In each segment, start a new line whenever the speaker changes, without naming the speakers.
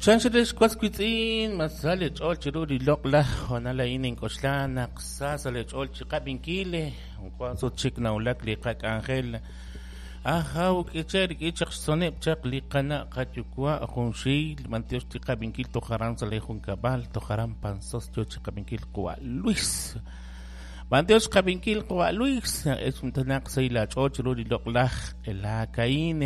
Chanchal was wiitz'in, ma sa leech'ool chiru li loq'laj hoonal a'in nink'oxla naq sa sa' leech'ool chi qab'inkil wank sut chik nawulak li qak'anjel ajaw k'iche' rik'in chaq xtzoneb' chaq li qana' qayuwa' junxil b'antiox li qab'inkil toj aran sa' li junkab'al toj aran Panzós yo chi qab'inkil qawa' Luis b'antiox qab'inkil qawa' Luis naq sahil aach'ool chiru li loq'laj q'elaak a'in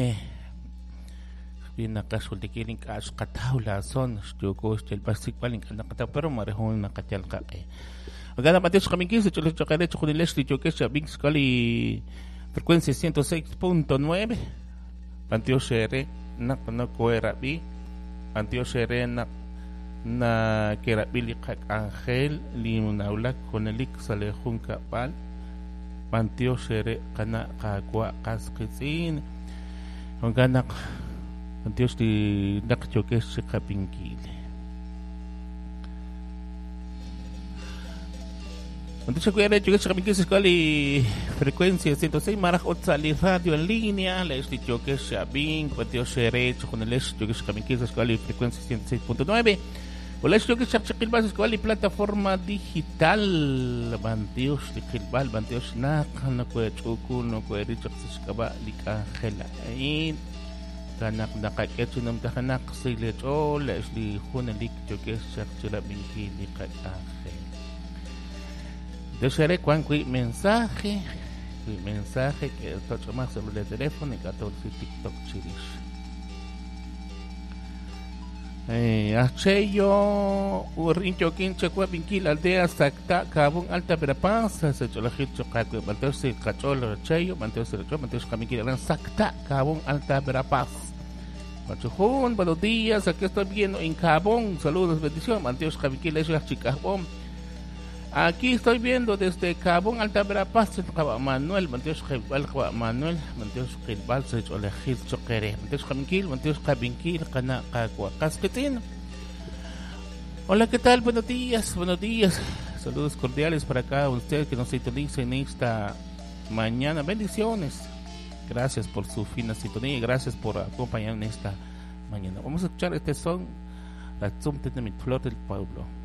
wi naqaxjultikil ink'a' xqataw laason xyooko xyalb'al xsik'b'al ink'a' naqataw pero mare jun naqayal qaq'e Jo'kan naq b'antiox qab'inkil sa' ch'oolej chejunilex li yookex chi ab'ink xk'al li frecuencia 106.9 b'antiox eere naq nokoherab'i b'antiox eere naq nakerab'i li qak'anjel li nawulak junelik sa' li junkab'al b'antiox eere qana' qaawa' qas qiitz'in jo'kan naq b'antiox li naq yookex chi qab'inkil B'antiox ajwi' eere yookex chi qab'inkil sa' xk'al li frecuencia 106 malaj ut sa' li radio en línea le'x li yookex chi ab'ink b'antiox eere chejunilex yookex chi qab'inkil sa' xk'al li frecuencia 106.9 Ulex yookex chaq chi qilb'al sa' xk'al li plataforma digital b'antiox li qilb'al b'antiox naq nokohech'uku nokoheril chaq sa' xk'ab'a' li k'anjel a'in kanaq naqak'e chi numtajenaq sa' leech'ool le'x li junelik yookex chaq chi rab'inkil li qak'anjel Desearé wank wi' mensaje que toch'omaq sa' le teléfono ink'a' tolsi TikTok chirix Aj Cheyo urin yookin chawab'inkil aldea Sacta Cabón Alta Verapaz sa' ch'oolejil choq aawe b'antiox sa' qach'ool Cheyo b'antiox sa' qach'ool b'antiox qab'inkil aran Sacta Cabón Alta Verapaz Machujun, buenos días, aquí estoy viendo en Cabón, saludos, bendición, b'antiox qab'inkil ex aj Chikajb'om. Aquí estoy viendo desde Cabón Alta Verapaz, qawa' Manuel, b'antiox qilb'al qawa' Manuel, b'antiox qilb'al sa' ch'oolejil choq eere. B'antiox qab'inkil, b'antiox qab'inkil, qana' qawa' qas qiitz'in. Hola, ¿qué tal? Buenos días, buenos días. Saludos cordiales para cada uno de ustedes que nos sintonicen en esta mañana. Bendiciones. Gracias por su fina sintonía y gracias por acompañarnos en esta mañana. Vamos a escuchar este son, la Tzum mi Flor del Pueblo.